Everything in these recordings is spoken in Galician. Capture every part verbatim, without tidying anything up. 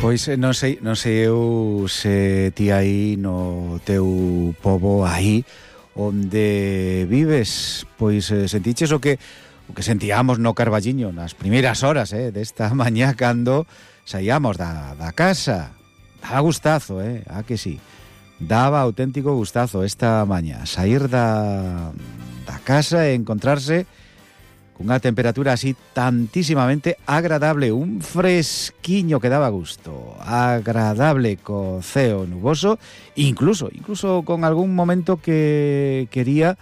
Pois non sei, non sei eu se ti aí no teu pobo aí onde vives, pois eh, sentiches o que o que sentíamos no Carballiño nas primeiras horas eh, desta mañá cando saíamos da, da casa. Daba gustazo, eh, a que sí. Daba auténtico gustazo esta mañá sair da, da casa e encontrarse cunha temperatura así tantísimamente agradable, un fresquiño que daba gusto, agradable co ceo nuboso, incluso, incluso con algún momento que quería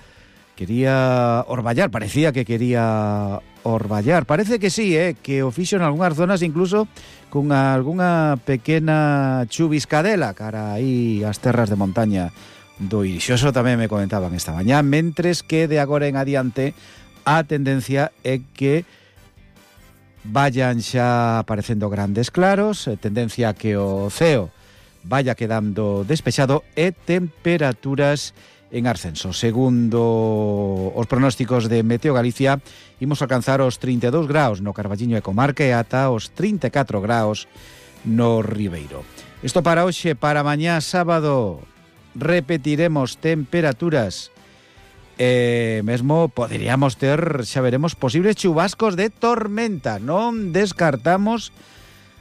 quería orballar, parecía que quería orballar, parece que sí, eh, que o fixo en algunhas zonas incluso con algunha pequena chuviscadela cara aí as terras de montaña do Irixoso, tamén me comentaban esta mañá, mentres que de agora en adiante a tendencia é que vayan xa aparecendo grandes claros, tendencia a que o ceo vaya quedando despexado e temperaturas en ascenso. Segundo os pronósticos de Meteo Galicia, imos alcanzar os trinta e dous graus no Carballiño e comarca e ata os trinta e catro graus no Ribeiro. Isto para hoxe, para mañá sábado, repetiremos temperaturas e mesmo poderíamos ter, xa veremos, posibles chubascos de tormenta. Non descartamos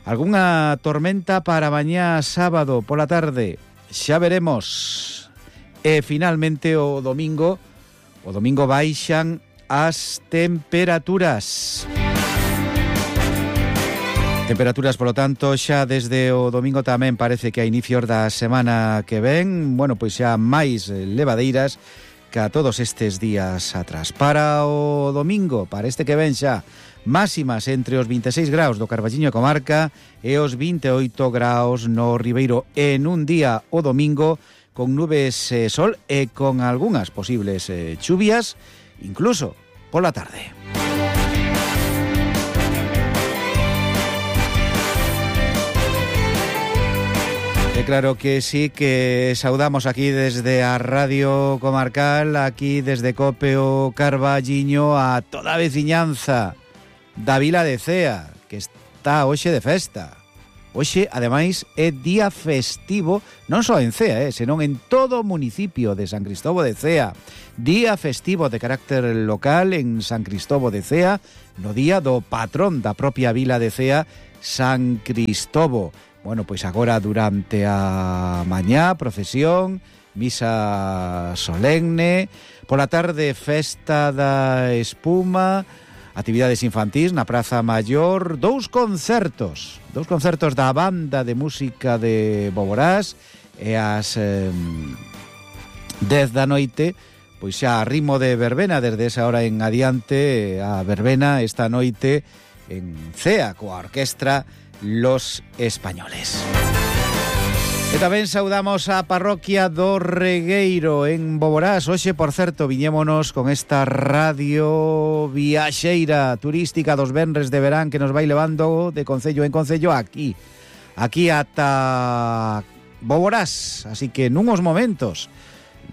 algunha tormenta para mañá sábado pola tarde. Xa veremos. E finalmente o domingo, o domingo baixan as temperaturas. Temperaturas, polo tanto, xa desde o domingo tamén parece que a inicios da semana que ven, bueno, pois xa máis levadeiras que a todos estes días atrás. Para o domingo, para este que ven xa, máximas entre os vinte e seis graus do Carballiño e comarca e os vinte e oito graus no Ribeiro, en un día o domingo con nubes e sol e con algunhas posibles eh, chuvias, incluso pola tarde. E claro que sí, que saudamos aquí desde a Radio Comarcal, aquí desde Cope o Carballiño, a toda a veciñanza da Vila de Cea, que está hoxe de festa. Hoxe, ademais, é día festivo, non só en Cea, eh, senón en todo o municipio de San Cristobo de Cea. Día festivo de carácter local en San Cristobo de Cea, no día do patrón da propia Vila de Cea, San Cristobo. Bueno, pois agora durante a mañá, procesión, misa solemne, pola tarde festa da espuma, actividades infantís na Praza Maior, dous concertos, dous concertos da banda de música de Boborás e as eh, dez da noite, pois xa a ritmo de verbena desde esa hora en adiante, a verbena esta noite en Cea coa orquestra Los Españoles. E tamén saudamos a parroquia do Regueiro en Boborás. Hoxe, por certo, viñémonos con esta radio viaxeira turística dos venres de verán que nos vai levando de concello en concello aquí, aquí ata Boborás. Así que nuns momentos,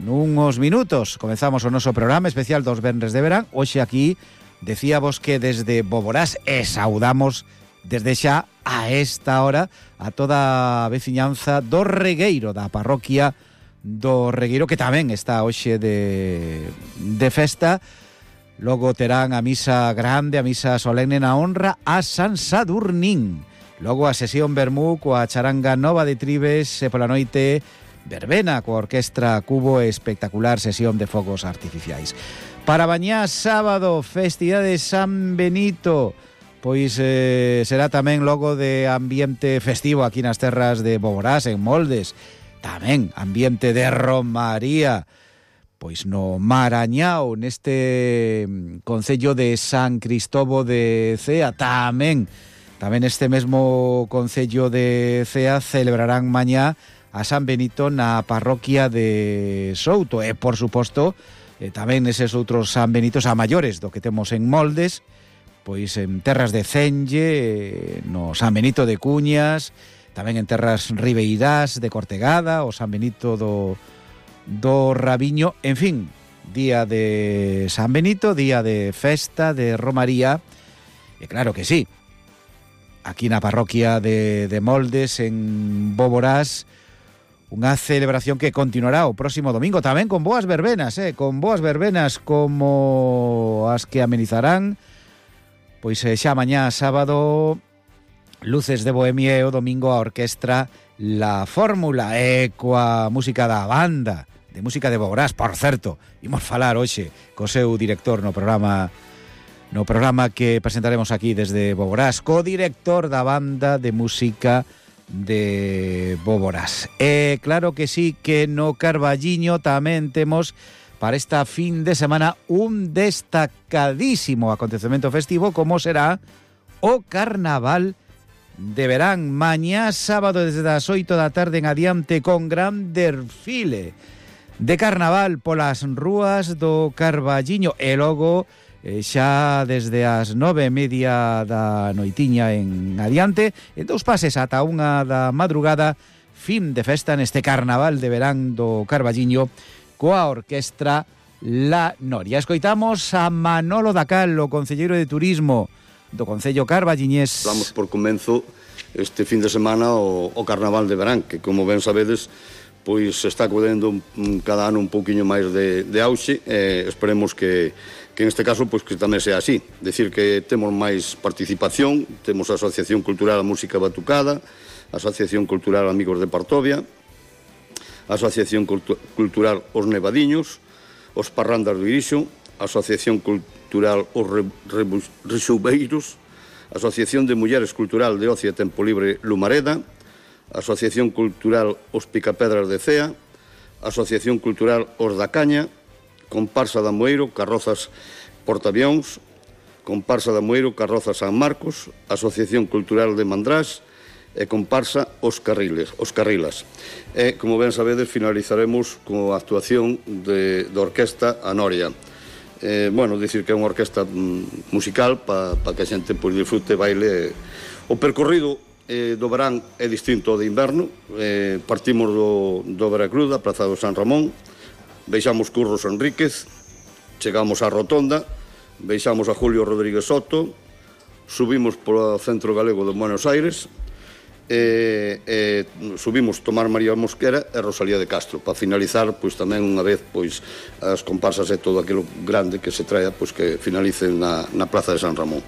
nuns minutos, comezamos o noso programa especial dos venres de verán. Hoxe aquí decíamos que desde Boborás e saudamos desde xa a esta hora a toda a veciñanza do Regueiro, da parroquia do Regueiro, que tamén está hoxe de, de festa. Logo terán a misa grande, a misa solemne na honra a San Sadurnín. Logo a sesión vermú coa charanga nova de Tribes e pola noite verbena coa orquestra Cubo e espectacular sesión de fogos artificiais. Para mañá sábado, festividade de San Benito. Pois eh, será tamén logo de ambiente festivo aquí nas terras de Boborás, en Moldes. Tamén ambiente de romaría, pois no Marañao, neste concello de San Cristobo de Cea. Tamén, tamén este mesmo concello de Cea celebrarán mañá a San Benito na parroquia de Souto. E, por suposto, eh, tamén eses outros San Benitos a maiores do que temos en Moldes, pois en terras de Cenlle, no San Benito de Cuñas, tamén en terras ribeirás de Cortegada, o San Benito do, do Rabiño, en fin, día de San Benito, día de festa, de romaría, e claro que sí, aquí na parroquia de, de Moldes, en Boborás, unha celebración que continuará o próximo domingo, tamén con boas verbenas, eh, con boas verbenas como as que amenizarán, pois eh, xa mañá sábado, Luces de Bohemia, e o domingo a orquestra La Fórmula, e coa música da banda de música de Boborás. Por certo, imos falar hoxe co seu director no programa no programa que presentaremos aquí desde Boborás, co director da banda de música de Boborás. E claro que sí, que no Carballiño tamén temos para esta fin de semana un destacadísimo acontecemento festivo, como será o Carnaval de Verán, mañá sábado desde as oito da tarde en adiante, con gran desfile de carnaval polas rúas do Carballiño, e logo Eh, xa desde as nove e media da noitiña en adiante, en dous pases ata unha da madrugada, fin de festa neste Carnaval de Verán do Carballiño coa orquestra La Noria. Escoitamos a Manolo Dacal, o concelleiro de Turismo do Concello Carballiñés. Damos por comenzo este fin de semana o, o Carnaval de Verán, que como ben sabedes, pois se está acudendo cada ano un pouquiño máis de, de auxe, e esperemos que que en este caso pois que tamén sea así, decir que temos máis participación, temos a Asociación Cultural a Música Batucada, a Asociación Cultural Amigos de Partovia, a Asociación Cultu- Cultural Os Nevadiños, os Parrandas do Irixo, a Asociación Cultural Os Re- Re- Rexoubeiros, a Asociación de Mulleres Cultural de Ocio e Tempo Libre Lumareda, a Asociación Cultural Os Picapedras de Cea, a Asociación Cultural Os da Caña, Comparsa da Moeiro, Carrozas Portavións, Comparsa da Moeiro, Carrozas San Marcos, Asociación Cultural de Mandrás e Comparsa Os Carriles, Os Carrilas. E, como ben sabedes, finalizaremos coa actuación de, da Orquesta A Noria. Eh, bueno, dicir que é unha orquesta mm, musical para pa que a xente pois, disfrute, baile. O percorrido eh, do verán é distinto ao de inverno. Eh, partimos do, do Veracruz, da Praza do San Ramón, veixamos Curros Enríquez, chegamos á Rotonda, veixamos a Julio Rodríguez Soto, subimos polo Centro Galego de Buenos Aires, e, e subimos Tomar María Mosquera e Rosalía de Castro, para finalizar, pois tamén unha vez, pois as comparsas e todo aquilo grande que se traia, pois que finalicen na, na Plaza de San Ramón.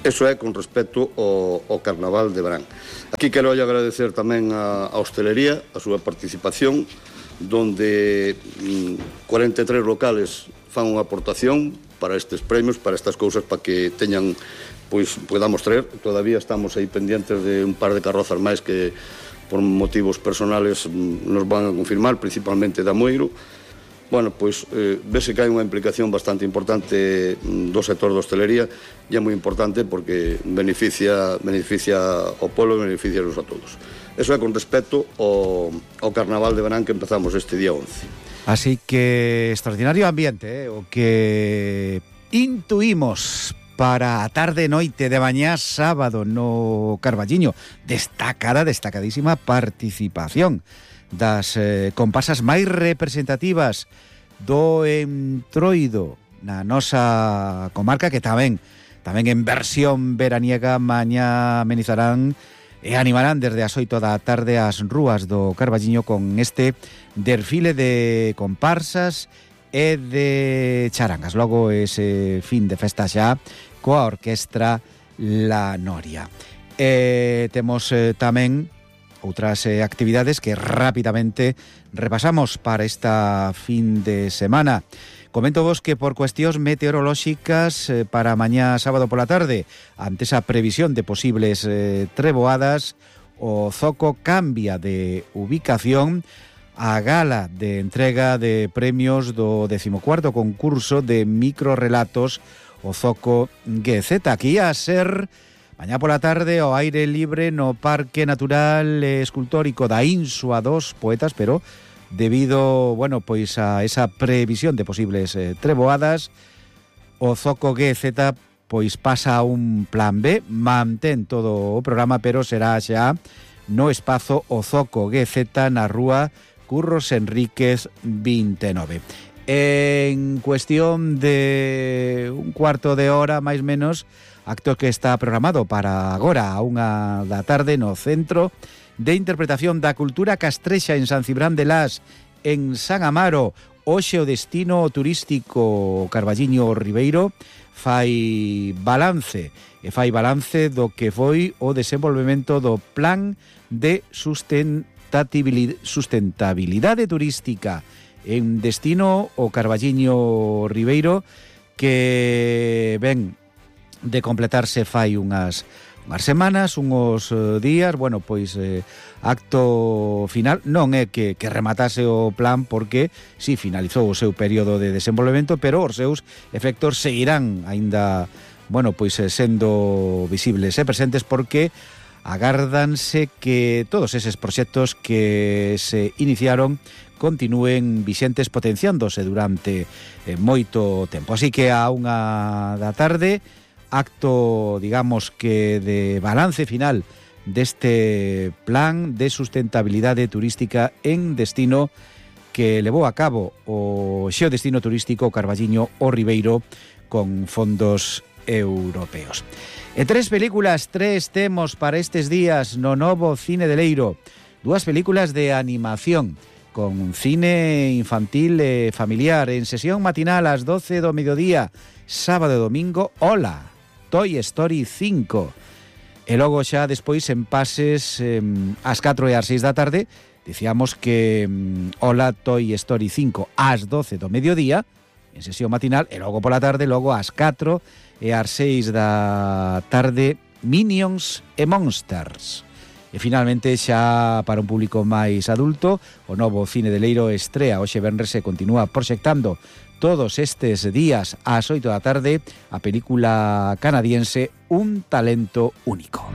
Eso é con respecto ao, ao Carnaval de Verán. Aquí quero agradecer tamén a, a hostelería, a súa participación, donde mm, cuarenta e tres locales fan unha aportación para estes premios, para estas cousas, para que teñan, pois, podamos traer. Todavía estamos aí pendientes de un par de carrozas máis que, por motivos personales, mm, nos van a confirmar, principalmente da Moiro. Bueno, pois, eh, vese que hai unha implicación bastante importante mm, do sector da hostelería, e é moi importante porque beneficia, beneficia ao pueblo e beneficia a todos. Eso é con respecto ao, ao Carnaval de Verán que empezamos este día once. Así que extraordinario ambiente, eh, o que intuímos para a tarde noite de mañá sábado no Carballiño. Destacada, destacadísima participación das eh, comparsas máis representativas do Entroido na nosa comarca, que tamén tamén en versión veraniega mañá amenizarán e animarán desde as oito da tarde as rúas do Carballiño con este desfile de comparsas e de charangas. Logo ese fin de festa xa coa orquestra La Noria. E temos eh, tamén outras eh, actividades que rapidamente repasamos para esta fin de semana. Comento vos que por cuestións meteorolóxicas eh, para mañá sábado pola tarde, ante esa previsión de posibles eh, treboadas, o Zoco cambia de ubicación. A gala de entrega de premios do decimocuarto concurso de microrelatos, o Zoco G Z, aquí a ser mañá pola tarde ao aire libre no Parque Natural Escultórico da Insua dos Poetas, pero debido, bueno, pois a esa previsión de posibles eh, treboadas, o Zoco G Z pois pasa a un plan B, mantén todo o programa, pero será xa no espazo o Zoco G Z na rúa Curros Enríquez vinte e nove. En cuestión de un cuarto de hora, máis menos, acto que está programado para agora a unha da tarde no Centro de Interpretación da Cultura Castrexa en San Cibrán de Las, en San Amaro. Hoxe o destino turístico Carballiño Ribeiro fai balance, e fai balance do que foi o desenvolvemento do Plan de Sustentabilidade, sustentabilidade Turística en destino o Carballiño Ribeiro, que ven de completarse fai unhas unhas semanas, unhos días. Bueno, pois eh, acto final non é que, que rematase o plan, porque si finalizou o seu período de desenvolvemento, pero os seus efectos seguirán aínda, bueno, pois sendo visibles e presentes, porque agárdanse que todos eses proxectos que se iniciaron continúen vixentes, potenciándose durante eh, moito tempo. Así que a unha da tarde, acto, digamos que de balance final deste plan de sustentabilidade turística en destino que levou a cabo o Xeodestino Turístico Carballiño o Ribeiro con fondos europeos. E tres películas, tres temos para estes días no novo Cine de Leiro. Dúas películas de animación con cine infantil e familiar en sesión matinal ás doce do mediodía, sábado e domingo. Hola, Toy Story cinco. E logo xa despois en pases eh, ás catro e ás seis da tarde, dicíamos que eh, Hola, Toy Story cinco ás doce do mediodía en sesión matinal, e logo pola tarde, logo ás catro e ás seis da tarde, Minions e Monsters. E finalmente, xa para un público máis adulto, o novo Cine de Leiro estrea hoxe venres e continúa proxectando todos estes días ás oito da tarde a película canadiense Un talento único.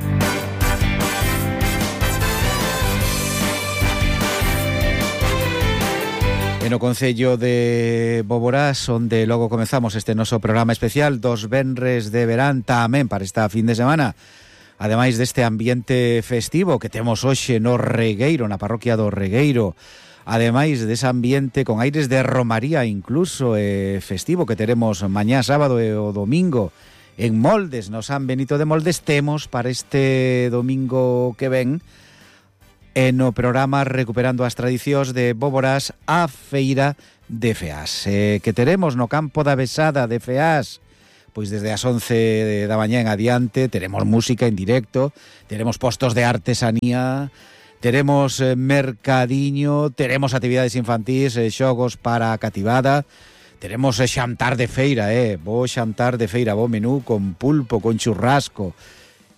En o concello de Boborás, onde logo comezamos este noso programa especial dos venres de verán tamén para esta fin de semana. Ademais deste ambiente festivo que temos hoxe no Regueiro, na parroquia do Regueiro, ademais dese ambiente con aires de romaría incluso eh, festivo que teremos mañá sábado e o domingo en Moldes, no San Benito de Moldes, temos para este domingo que ven en o programa Recuperando as Tradicións de Boborás a Feira de Feás, eh, que teremos no campo da Besada de Feás. Pois desde as once da mañá en adiante teremos música en directo, teremos postos de artesanía, teremos eh, mercadiño, teremos actividades infantís, eh, xogos para a cativada, teremos eh, xantar de feira, eh, bo xantar de feira, bo menú con pulpo, con churrasco,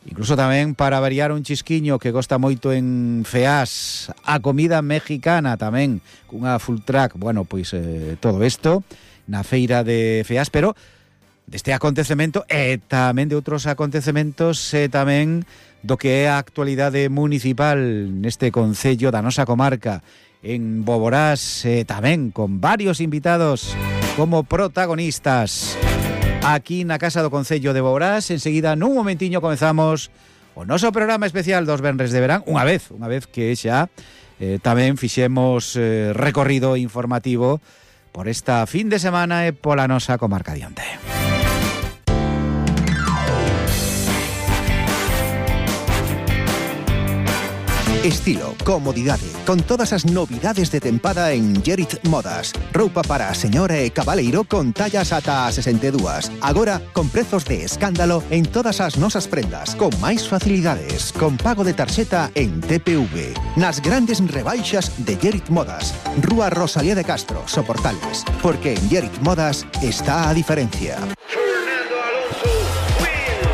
incluso tamén para variar un chisquiño que gosta moito en Feás, a comida mexicana tamén, cunha full track. Bueno, pois eh, todo isto na feira de Feás, pero deste acontecemento e tamén de outros acontecementos e tamén do que é a actualidade municipal neste concello da nosa comarca en Boborás, e tamén con varios invitados como protagonistas aquí na Casa do Concello de Boborás. Enseguida, nun momentiño, comezamos o noso programa especial dos venres de verán, unha vez, unha vez que xa eh, tamén fixemos eh, recorrido informativo por esta fin de semana e pola nosa comarca diante. Estilo, comodidade, con todas as novidades de tempada en Gerit Modas. Roupa para a señora e cabaleiro con tallas ata a sesenta e dúas. Agora, con prezos de escándalo en todas as nosas prendas, con máis facilidades, con pago de tarxeta en T P V. Nas grandes rebaixas de Gerit Modas. Rúa Rosalía de Castro, Soportales. Porque en Gerit Modas está a diferencia.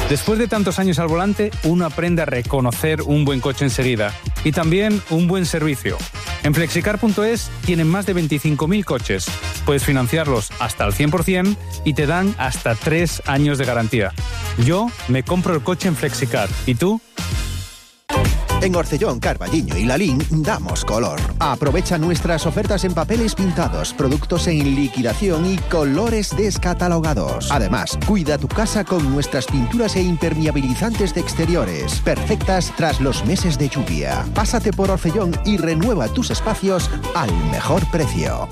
Después de tantos años al volante, uno aprende a reconocer un buen coche enseguida y también un buen servicio. En flexicar punto es tienen más de veinticinco mil coches. Puedes financiarlos hasta el cien por ciento y te dan hasta tres años de garantía. Yo me compro el coche en Flexicar. ¿Y tú? En Orcellón, Carballiño y Lalín damos color. Aprovecha nuestras ofertas en papeles pintados, productos en liquidación y colores descatalogados. Además, cuida tu casa con nuestras pinturas e impermeabilizantes de exteriores, perfectas tras los meses de lluvia. Pásate por Orcellón y renueva tus espacios al mejor precio.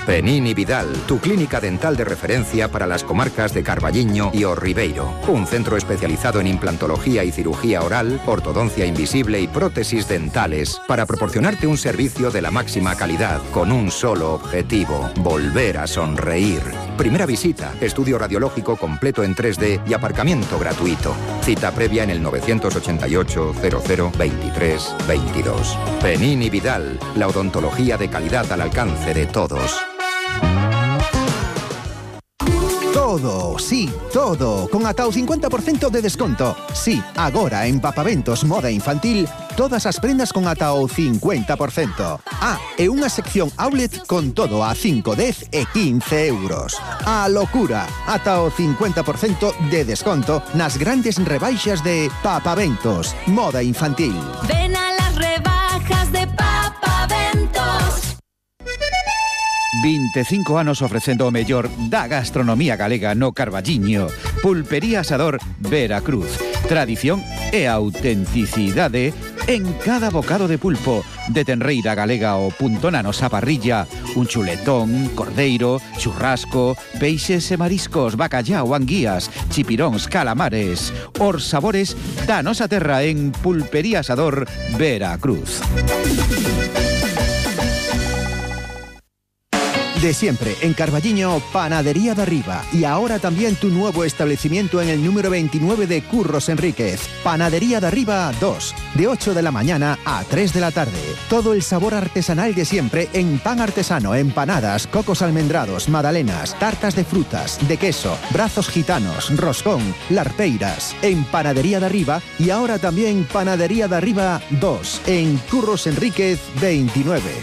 Penín y Vidal, tu clínica dental de referencia para las comarcas de Carballiño y O Ribeiro. Un centro especializado en implantología y cirugía oral, ortodoncia invisible y prótesis dentales para proporcionarte un servicio de la máxima calidad con un solo objetivo: volver a sonreír. Primera visita, estudio radiológico completo en tres D y aparcamiento gratuito. Cita previa en el novecientos ochenta y ocho, cero cero, veintitrés, veintidós. Penín y Vidal, la odontología de calidad al alcance de todos. Todo, sí, todo, con ata o cincuenta por cento de desconto. Sí, agora en Papaventos Moda Infantil, todas as prendas con ata o cincuenta por cento. Ah, e unha sección outlet con todo a cinco, dez e quince euros. A locura, ata o cincuenta por cento de desconto nas grandes rebaixas de Papaventos Moda Infantil. Ven a las rebajas de Papaventos. veinticinco anos ofrecendo o mellor da gastronomía galega no Carballiño. Pulpería Asador Veracruz. Tradición e autenticidade en cada bocado de pulpo. De tenreira galega o punto na nosa parrilla. Un chuletón, cordeiro, churrasco, peixes e mariscos, bacallao, anguías, chipiróns, calamares. Os sabores da nosa terra en Pulpería Asador Veracruz. De siempre, en Carballiño, Panadería de Arriba. Y ahora también tu nuevo establecimiento en el número veintinueve de Curros Enríquez. Panadería de Arriba dos, de ocho de la mañana a tres de la tarde. Todo el sabor artesanal de siempre en pan artesano, empanadas, cocos almendrados, magdalenas, tartas de frutas, de queso, brazos gitanos, roscón, larpeiras. En Panadería de Arriba y ahora también Panadería de Arriba dos, en Curros Enríquez veintinueve.